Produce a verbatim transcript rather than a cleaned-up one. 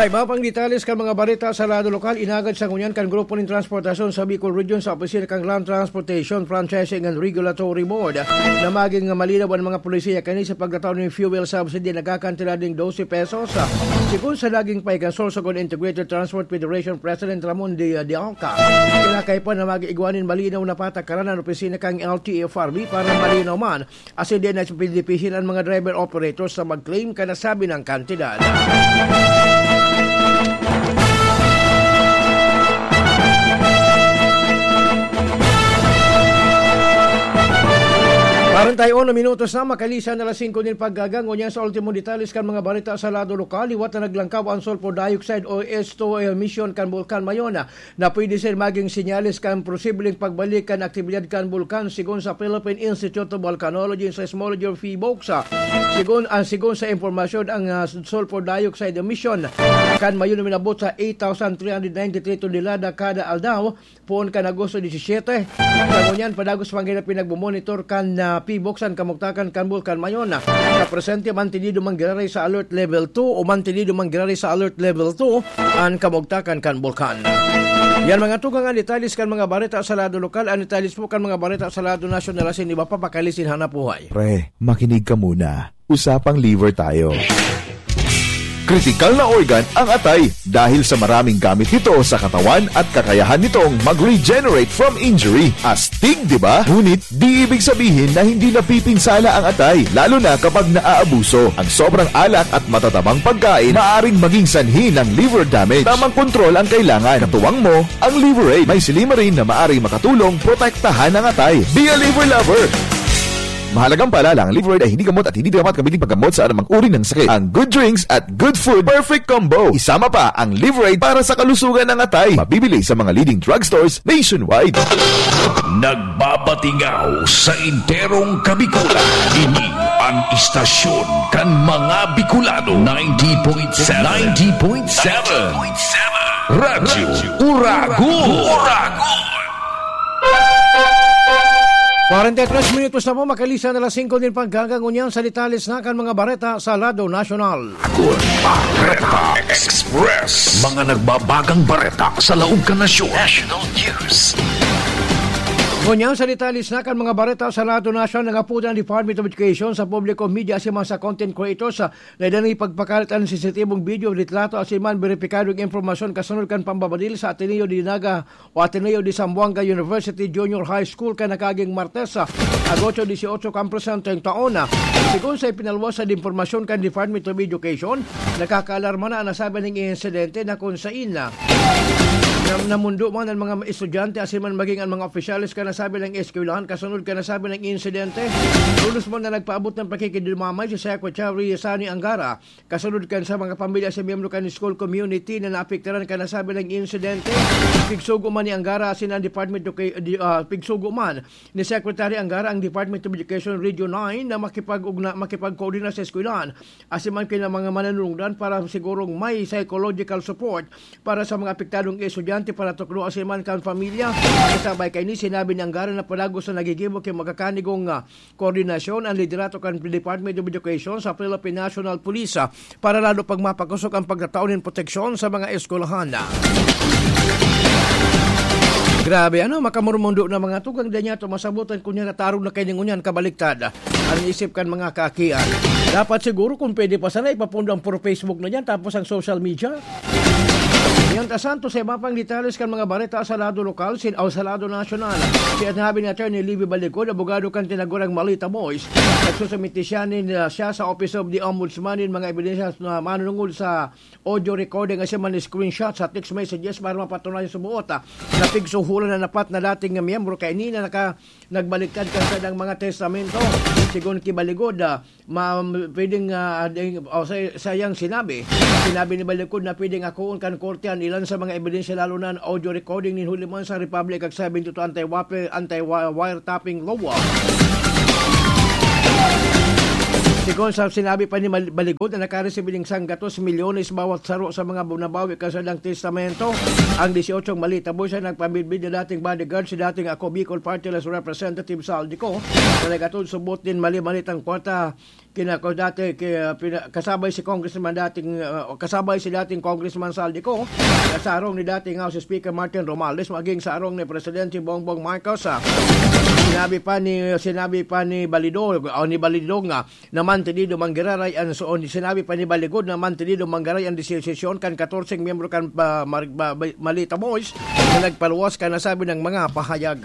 Iba pang detalles kan mga bareta sa lado lokal, inagad sa ngunyan kan Grupo nin Transportasyon sa Bicol Region sa opisina kan Land Transportation Franchising and Regulatory Board na maging malinaw an mga polisiya kani sa pagtatao nin fuel subsidy na nagkakantidad nin dose pesos. Sigon sa naging pahikasol sa Integrated Transport Federation President Ramon de, de Alca, kinakaipo na mag-igwa nin malinaw na patakaran an opisina kan L T F R B para malinaw man asin di na pinipisil an mga driver operators na mag-claim kan nasabing kantidad. Kwarenta y uno minutos na makalisan na alas singko nin pagkaaga. Ngunyan sa ultimong detalles kan mga bareta sa lado lokal, liwat na naglangkaw an sulfur dioxide o S two O emission kan Bulkan Mayon na pwede sira magin senyales kan posibleng pagbalik kan aktibidad kan bulkan, sigon sa Philippine Institute of Volcanology and Seismology o PHIVOLCS. Sigon, ah, sigon sa impormasyon, ang, ah, sulfur dioxide emission kan Mayon minabot sa eight thousand three hundred ninety-three tonelada kada aldaw, poon kan Agosto disisiete. Sa ngunyan, padagos pa ngani pinagmomonitor kan, ah, PHIVOLCS an kamugtakan kan Bulkan Mayon. Sa presente, mantenido man giraray sa Alert Level two o mantenido man giraray sa Alert Level two an kamugtakan kan bulkan. Yan, mga tugang, an detalles kan mga bareta sa lado lokal. An detalles po kan mga bareta sa lado nasyonal asin iba pa pakalisin hanap buhay. Pre, makinig ka muna. Usapang liver tayo. Kritikal na organ ang atay dahil sa maraming gamit nito sa katawan at kakayahan nitong mag-regenerate from injury. Astig, di ba? Ngunit di ibig sabihin na hindi napipinsala ang atay, lalo na kapag naaabuso. Ang sobrang alak at matatabang pagkain maaring maging sanhi ng liver damage. Tamang kontrol ang kailangan. Katuwang mo ang Liver Aid. May silymarin na maaring makatulong protektahan ang atay. Be a liver lover! Mahalagang paalala, ang Liver Aid ay hindi gamot at hindi dapat gamitin paggamot sa anumang uri ng sakit. Ang good drinks at good food, perfect combo. Isama pa ang Liver Aid para sa kalusugan ng atay. Mabibili sa mga leading drugstores nationwide. Nagbabatingaw sa enterong Kabikulan. Ini ang istasyon kan mga Bicolano. Ninety point seven. Ninety point seven. Radyo Uragon. Uragon. Kwarenta y tres minutos na po, makalisan na alas singko nin pagkaaga. Ngunyan sa detalles na kan mga bareta sa lado nasyonal. Kun Bareta Express. Mga nagbabagang bareta sa laog kan nasyon. National News. Ngunyan sa detalles na kan mga bareta sa lado nasyonal, nangapoda an Department of Education sa publiko, media asin man sa content creators, ah, na idan ipagpakalat an sensitibong video, litrato asin man beripikadong impormasyon kasunod kan pambabadil sa Ateneo de Naga o Ateneo de Zamboanga University Junior High School kan nakaaging Martes, ah, Agosto dieciocho kan presenteng taon. Sigon sa ipinaluwas na impormasyon kan Department of Education, nakakaalarma na an nasabing insidente na kun sain na, na namundo man an mga estudyante asin man maging an mga opisyales kan nasabing eskwelahan kasunod kan nasabing insidente. Tolos man na nagpaabot ng pakikidumamay si Secretary Sani Angara kasunod kan sa mga pamilya sa miyembro kan school community na naapektaran kan nasabing insidente. Pigsugo man ni Angara asin ang Department of Educa-, di-, ah, pigsugo man ni Secretary Angara ang Department of Education Region nine na makipag-ugna-, makipagkoordina sa eskwelahan asin man kan mga manunungdan para sigurong may psychological support para sa mga apektadong estudyante, paratukdo asin man kan pamilya. Kasabay kaini, sinabi ni Angara na padagos na nagigibo kan magkakanigong, ah, koordinasyon an liderato kan Department of Education sa Philippine National Police, ah, para lalo pang mapakosog ang pagtatao nin proteksyon sa mga eskwelahan. Grabe, ano, makamurmundo na mga tugang, di niya to masabutan kun yan natarong na kayo ngunyan, kabaliktad. Ang isip kan mga kaakian. Dapat siguro kung pwede pa sana ipapondo ang puro Facebook na yan, tapos ang social media. Yan ta Santos, sa iba pang detalles kan mga bareta sa lado lokal, sin, o sa lado nasyonal. Sinabi ni Attorney Livy Balikod, abogado kan tinagurang Malita Boys, nagsusumiti siya nin, ah, siya sa Office of the Ombudsman nin mga ebidensya na manunungod sa audio recording asin man screenshot sa text messages para mapatunayan sa buot, ah, na pigsuhulan na dapat na dating miyembro kaini na naka-, nagbaliktad kan sadang mga testamento. Sigon ki Balikod, ah, ma-, pwedeng, ah, ding, o sa, sayang sinabi, sinabi ni Balikod na pwedeng akoon kan korte an ilan sa mga ebidensya, lalo na an audio recording nin huli man sa Republic Act seventy-two anti-wape-, anti-wi-, wiretapping law. Sigon sa sinabi pa ni Mal-, Baligod na nakaresibir ning sanggatos milyones bawat saro sa mga bu-, nabawi kan saindang testamento. Ang dieciocho Malita Boys ay nagpamidbid na dating bodyguard si dating Ako Bicol Party List Representative Saldi Co na nag-atod subot nin mali-malitang kwarta. Kinako dati, ki-, pina-, kasabay si Congressman dating, ah, kasabay si dating Congressman Saldi Co, kasarong ni dating House Speaker Martin Romualdez, maging sarong ni Presidente Bongbong Marcos, ah. Sinabi pa ni, sinabi pa ni Balidog, o ni Balidog nga, na mantenido manggiray an, so, sinabi pa ni Baligod na mantenido manggiray an desisyon kan katorseng miyembro kan, ah, Mar-, ba-, ba-, Malita Boys na nagpaluwas kan nasabing mga pahayag.